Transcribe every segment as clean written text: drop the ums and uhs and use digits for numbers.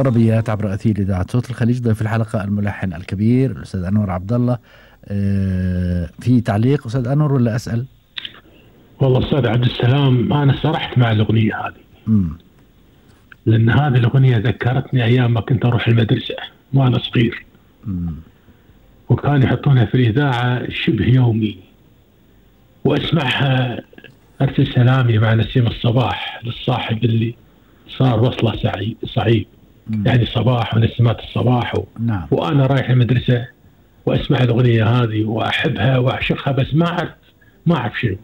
طربيات عبر أثير إذاعة صوت الخليج. ضيف الحلقة الملحن الكبير الأستاذ أنور عبد الله. في تعليق أستاذ أنور ولا أسأل؟ والله أستاذ عبد السلام، أنا سرحت مع الأغنية هذه. لأن هذه الأغنية ذكرتني أيام ما كنت أروح المدرسة وأنا صغير. وكانوا يحطونها في الإذاعة شبه يومي، وأسمعها أرسل سلامي مع نسيم الصباح للصاحب اللي صار وصله صعيب. يعني صباح ونسمات الصباح نعم. وأنا رايح المدرسة وأسمع الأغنية هذه وأحبها وأعشقها، بس ما أعرف شنو،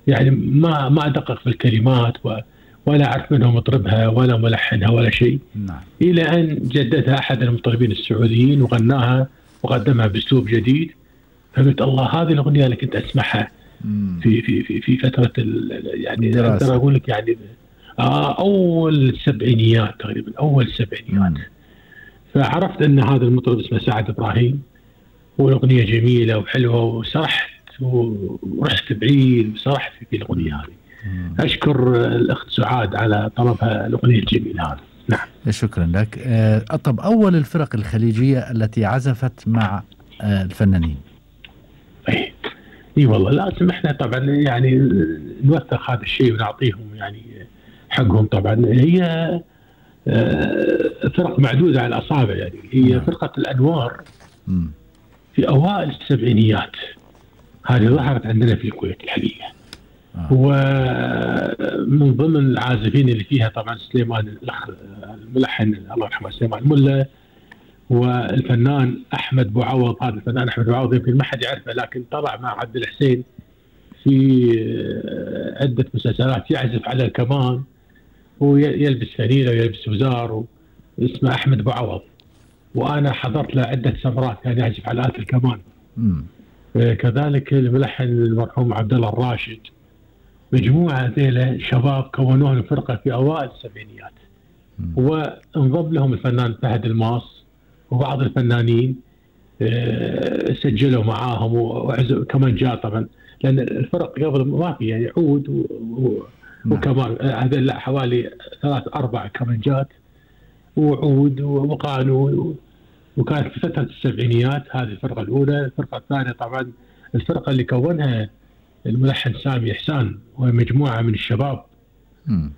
يعني ما أدقق في الكلمات ولا أعرف منهم مطربها ولا ملحنها ولا شيء. نعم. إلى أن جددها أحد المطربين السعوديين وغناها وقدمها بأسلوب جديد، فقلت الله، هذه الأغنية اللي كنت أسمعها في فترة يعني أقدر أقول لك يعني أول السبعينيات تقريبا، أول السبعينيات. فعرفت أن هذا المطرب اسمه سعد إبراهيم، والأغنية جميلة وحلوة، وسرحت ورحت بعيد وسرحت في الأغنية هذه. أشكر الأخت سعاد على طلبها الأغنية الجميلة هذه. نعم. شكرا لك. طب أول الفرق الخليجية التي عزفت مع الفنانين؟ اي والله لازم احنا طبعا يعني نوثق هذا الشيء ونعطيهم يعني حقهم. طبعا هي فرق معدودة على الأصابع، يعني هي فرقة الأنوار في أوائل السبعينيات، هذه ظهرت عندنا في الكويت الحقيقة. ومن ضمن العازفين اللي فيها طبعا سليمان الأخ الملحن الله يرحمه سليمان الملا، والفنان أحمد بوعوض. هذا الفنان أحمد بوعوض يمكن ما حد يعرفه، لكن طلع مع عبد الحسين في عدة مسلسلات، يعزف على الكمان ويلبس فانيلة ويلبس وزار، اسمه أحمد بوعوض. وأنا حضرت له عدة سفرات كان يعزف على آلة الكمان. كذلك الملحن المرحوم عبد الله الراشد. مجموعة ذيلا شباب كونوها الفرقة في أوائل السبعينيات، وانضم لهم الفنان فهد الماص وبعض الفنانين سجلوا معاهم وعزوا كمانجات طبعا، لأن الفرق قبل ما في يعني عود وكمان هذا لا حوالي 3-4 كمانجات وعود وقانون. وكانت في فترة السبعينيات هذه الفرقة الأولى. الفرقة الثانية طبعا الفرقة اللي كونها الملحن سامي إحسان ومجموعة من الشباب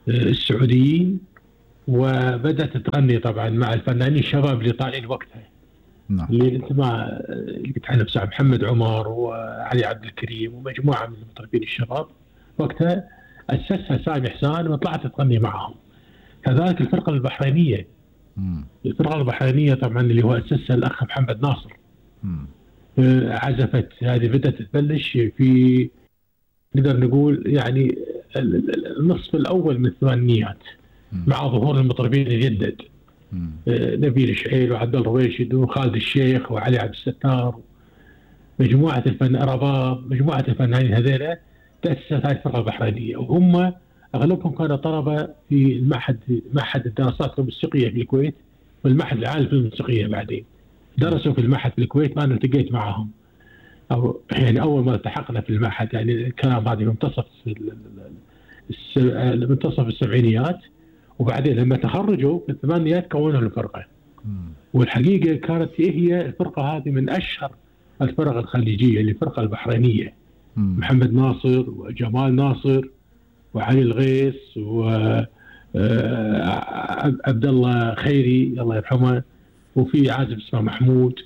السعوديين، وبدأت تغني طبعا مع الفنانين الشباب اللي طالعين وقتها. اللي انت ما قلت عنه بساعة محمد عمر وعلي عبد الكريم ومجموعة من المطربين الشباب وقتها أسسها سامي إحسان وطلعت تغني معهم. كذلك الفرقة البحرينية. الفرقة البحرينية طبعا اللي هو أسسها الأخ محمد ناصر. عزفت هذه بدأت تبلش في نقدر نقول يعني النصف الأول من الثمانينيات مع ظهور المطربين الجدد، نبيل شعيل وعبد الله رويشد وخالد الشيخ وعلي عبد الستار، مجموعة رباب، مجموعة الفنانين هذيلا تأسست هذه الفرقة البحرينية. وهم أغلبهم كانوا طلبة في معهد الدراسات الموسيقية في الكويت والمعهد العالي في الموسيقية. بعدين درسوا في المعهد في الكويت، أنا التقيت معهم أو يعني أول ما التحقنا في المعهد، يعني الكلام هذا منتصف السبعينيات. وبعدين لما تخرجوا في الثمانينات كونوا الفرقة. والحقيقة كانت هي الفرقة هذه من أشهر الفرق الخليجية، اللي الفرقة البحرينية. محمد ناصر وجمال ناصر وعلي الغيث وعبد الله خيري الله يرحمه، وفي عازف اسمه محمود،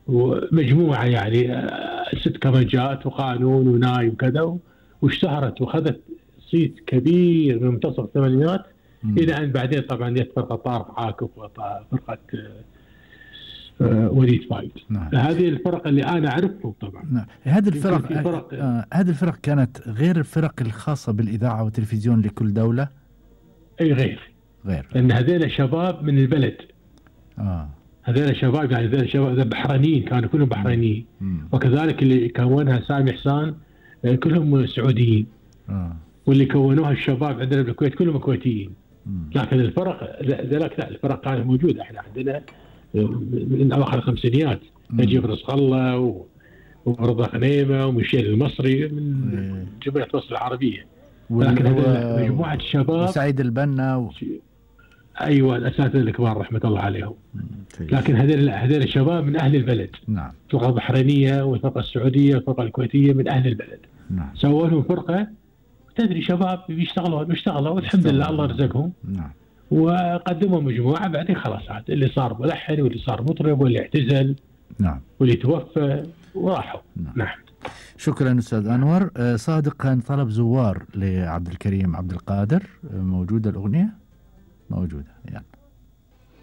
ومجموعة يعني 6 كمانجات وقانون وناي وكذا، واشتهرت وخذت صيت كبير من منتصف الثمانينات إلى أن بعدين طبعا جت فرقة طارق عاكف وفرقة وليد فايد. هذه الفرق اللي أنا أعرفهم طبعا. هذه الفرق كانت غير الفرق الخاصة بالإذاعة والتلفزيون لكل دولة؟ أي غير. لأن هذول شباب من البلد. هذول شباب يعني هذول شباب بحرينيين، كانوا كلهم بحرينيين. وكذلك اللي كونها سامي إحسان كلهم سعوديين. واللي كونوها الشباب عندنا بالكويت كلهم كويتيين. لكن الفرق ذلك لا، الفرق كانت موجودة. احنا عندنا من أواخر الخمسينيات نجيب رزق الله ورضا غنيمة ومشيل المصري من جبهة وسط العربية. لكن هذا مجموعة شباب وسعيد البنا ايوه الاساتذه الكبار رحمه الله عليهم. كويس. لكن هذول الشباب من اهل البلد. نعم. الفرقه البحرينيه والفرقه السعوديه والفرقه الكويتيه من اهل البلد. نعم. سووا لهم فرقه، تدري شباب بيشتغلوا والحمد لله الله رزقهم. نعم. وقدموا مجموعه، بعدين خلاص عاد اللي صار ملحن واللي صار مطرب واللي اعتزل. نعم. واللي توفى وراحوا. نعم. شكرا أستاذ أنور. صادق كان طلب زوار لعبد الكريم عبد القادر، موجودة الأغنية؟ موجودة، يعني